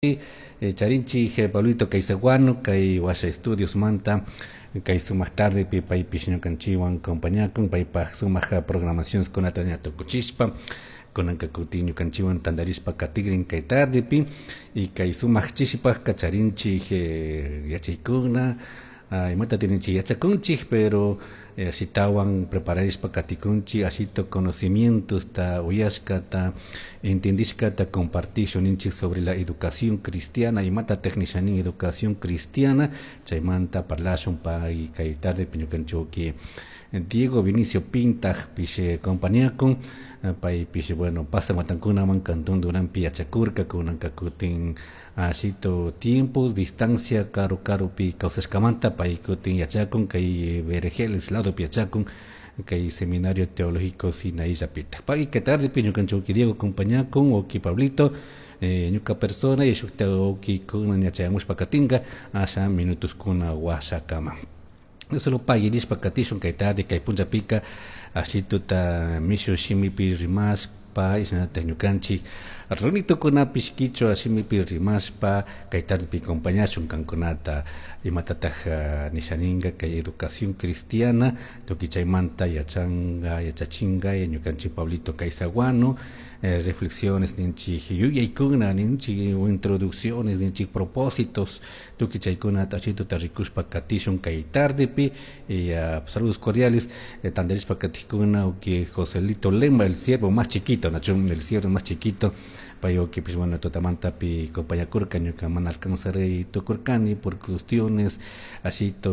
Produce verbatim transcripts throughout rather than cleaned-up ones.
Eh, charinchik Pablito Caizaguano kay Washa Estudios manta kay sumaq tardepi paypish ñukanchikwan compañakun paypaj sumaq programaciones kunata ña tukuchishpa kunanka kutin ñukanchikwan tantarishpa katikrin kay tardepi y kay sumaq chishipajka charinchik eh, yachaykuna uh, imata tininchik yachakunchik pero eh, ashitawan prepararishpa katikunchik ashito conocimientos ta uyashkata entendishkata compartishun ninchik sobre la educación cristiana imata nishanin educación cristiana chaymanta parlashun pay kay tardepi ñukanchik Diego Vinicio Pintaj pish compañakun paypish bueno pasa watankunaman Cantón Duranpi yachakurka kunanka kutin ashito tiempos distancia karu karupi kawsashkamanta pay kutin yachakun kay Beregeles ladopi yachakun kay Seminario Teológico Sinaí llapita pay kay tardepi ñukanchik Diego compañakun uki Pablito eh, ñuka persona y shukta uki kunan yachayamushpa katinka asha minutos kuna washakama solo pagui nishpa katishun kay tarde kay punllapika ashituta mishu shimipi rimashpa shinallatak ñukanchik runitukunapish kichwa shimipi rimashpa kay tardepi compañashun kankunata imatataj uh, nishaninka kay educación cristiana tukuy chaymanta yachanka yachachinka ñukanchik Pablito Caizaguano eh, reflexiones ninchik yuyaykuna ninchik introducciones ninchik propósitos tukuy chaykunata ashituta rikushpa katishun kay tardepi y uh, saludos cordiales eh, tantarishpa katikuna uki Joselito Lema el siervo más chiquito nachu el siervo más chiquito pay ukipish bueno tutamantapi compañakurka ñuka mana alcanzaré tukurkani por cuestiones ashito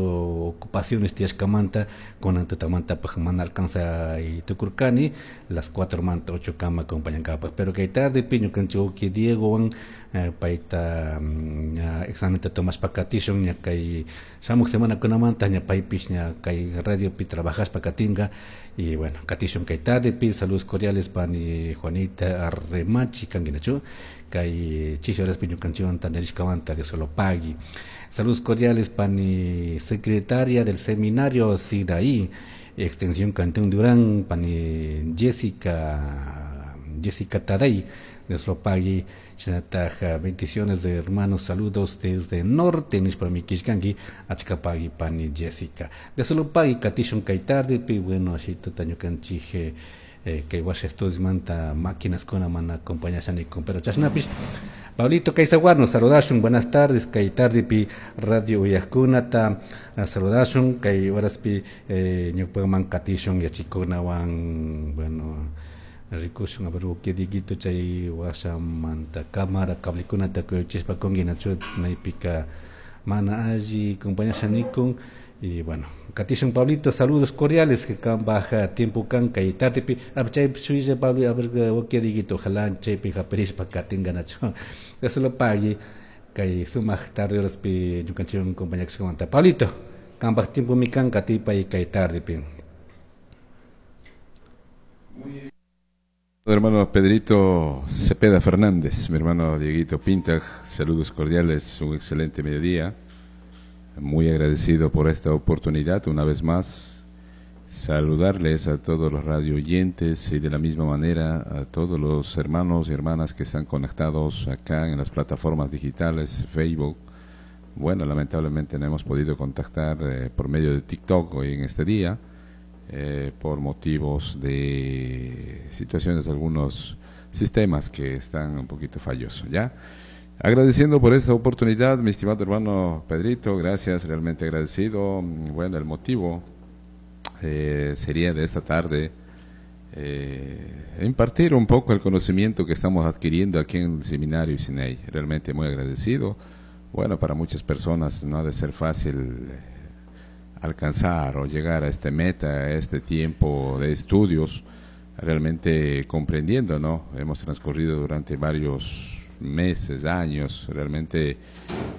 ocupaciones tiyashkamanta kunan tutamantapaj mana alcanza tukurkani las cuatro manta ocho kama acompañankapaj pero kay tardepi ñukanchik uki Diegowan eh, payta ña examenta tomashpa katishun ña kay shamuk semanakunamanta ña paypish ña kay radiopi trabajashpa katinka y bueno katishun kay tardepi saludos cordiales pani Juanita Arremachi kankinachu kay chishi horaspi ñukanchikwan tantarishkamanta Dios lo pagui saludos cordiales pani secretaria del seminario Sinaí extensión Cantón Durán pani Jessica Jessica Tadei Dios lo pague shinataj bendiciones de hermanos saludos desde norte nishpa mikishkanki achka pagui pani Jessica Dios lo pague katishun kay tardepi bueno ashituta ñukanchik eh, kay washa estudios manta máquinas kuna mana acompañashanikun pero chashnapish Pablito Caizaguano saludashun buenas tardes kay tardepi radio uyajkunata saludashun kay horaspi eh, ñupaman katishun yachikunawan bueno rikushun a ver uki Dieguito chay washamanta cámara cablikunata kuyuchishpa kunki nachu maypika mana alli compañashanikun y bueno katishun Pablito saludos cordiales que kan baja tiempo kan kay tardepi chay shuilla Pablo a ver uki Dieguito ojalá chaypi hapirishpa katinka nachu Dios lo pague kay sumaq tarde horaspi ñukanchikwan compañakashkamanta Pablito kanpaj tiempo mi kan katipay kay tardepi. Muy bien. Hermano Pedrito Cepeda Fernández, mi hermano Dieguito Pintaj, saludos cordiales, un excelente mediodía. Muy agradecido por esta oportunidad, una vez más, saludarles a todos los radio oyentes y de la misma manera a todos los hermanos y hermanas que están conectados acá en las plataformas digitales, Facebook. Bueno, lamentablemente no hemos podido contactar eh, por medio de TikTok hoy en este día, eh, por motivos de situaciones de algunos sistemas que están un poquito fallosos, ¿ya? Agradeciendo por esta oportunidad, mi estimado hermano Pedrito, gracias, realmente agradecido. Bueno, el motivo eh, sería de esta tarde eh, impartir un poco el conocimiento que estamos adquiriendo aquí en el Seminario Sinaí. Realmente muy agradecido. Bueno, para muchas personas no ha de ser fácil alcanzar o llegar a este meta, a este tiempo de estudios, realmente comprendiendo, ¿no? Hemos transcurrido durante varios meses, años, realmente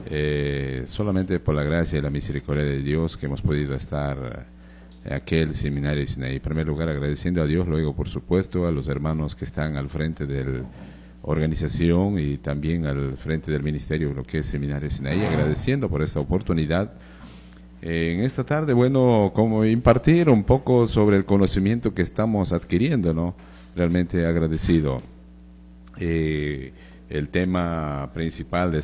eh, solamente por la gracia y la misericordia de Dios que hemos podido estar en aquel seminario Sinaí. En primer lugar, agradeciendo a Dios, luego, por supuesto, a los hermanos que están al frente de la organización y también al frente del ministerio, lo que es Seminario Sinaí, agradeciendo por esta oportunidad. En esta tarde, bueno, como impartir un poco sobre el conocimiento que estamos adquiriendo, ¿no? Realmente agradecido. Eh, el tema principal de